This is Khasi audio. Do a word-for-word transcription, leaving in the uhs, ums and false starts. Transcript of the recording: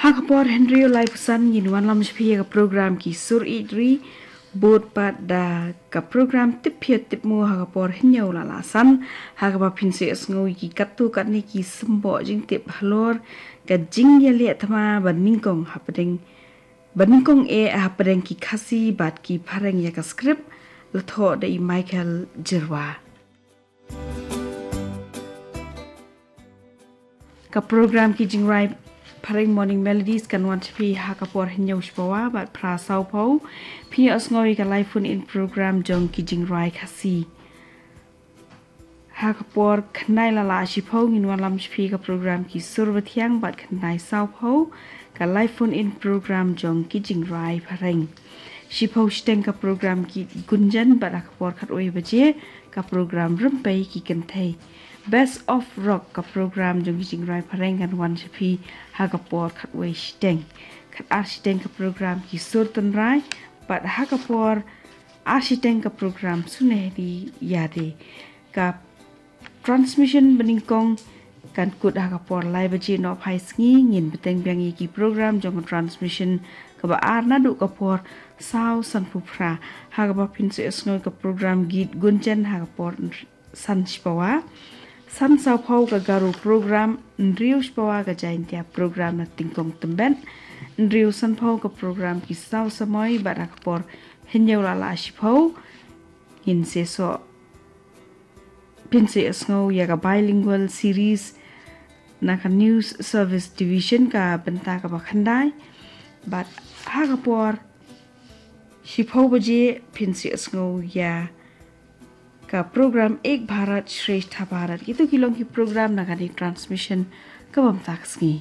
Ha ka por hynriew laiphew san ngin wanlam sha phi ïa ka program Ki Sur Ïeit Ri, bud pat da ka program Tip Phiat Tip Mu ha ka por hynñiew la la san, ha kaba phin sa ïohsngew ïa ki katto katne ki symboh jingtip halor ka jingïaleh thma ba nyngkong hapdeng, ba nyngkong eh hapdeng ki Khasi bad ki Phareng ïa ka script, la thoh da i Michael Jyrwa. Ka program Ki Jingrwai Phareng Morning Melodies kan wan sha phi ha ka por hynñiew shiphew bad phra sawphew. Phin ïohsngew ïa ka live phone in program jong Ki Jingrwai Khasi. Ha ka por khyndai la la shiphew ngin wanlam sha phi ka program Ki Sur Bathiang bad khyndai sawphew ka live phone in program jong Ki Jingrwai Phareng. Shiphew shiteng ka program Geet Gunjan bad ha ka por khatwei baje ka program Rympei Ki Kynthei. Best of Rock ka program jong Ki Jingrwai Phareng kan wan sha phi ha ka por khatwei shiteng. Khatar shiteng ka program Ki Sur Tynrai bad ha ka por ar shiteng ka program Sunehri Ïa De. Ka transmission ba nyngkong kan kut ha ka por lai baje nohphai sngi. Ngin bteng biang ïa ki program jong ka transmission kaba ar naduh ka por saw sanphew phra, ha kaba phin sa ïohsngew ïa ka program Geet Gunjan ha ka por san shiphew, san sawphew ka Garo program, hynriew shiphew ka Jaintia program na Tyngkong Tymbet, hynriew sanphew ka program Ki Saw Samoi bad ha ka por hynñiew la la shiphew ngin sa ïoh, phin sa ïohsngew ïa ka bilingual series na ka News Service Division ka bynta kaba khyndai. Bad ha ka por shiphew baje phin sa ïohsngew ïa ka program Ek Bharat Shreshtha Bharat. Kito ki long ki program na kane ka transmission kaba mynta ka sngi.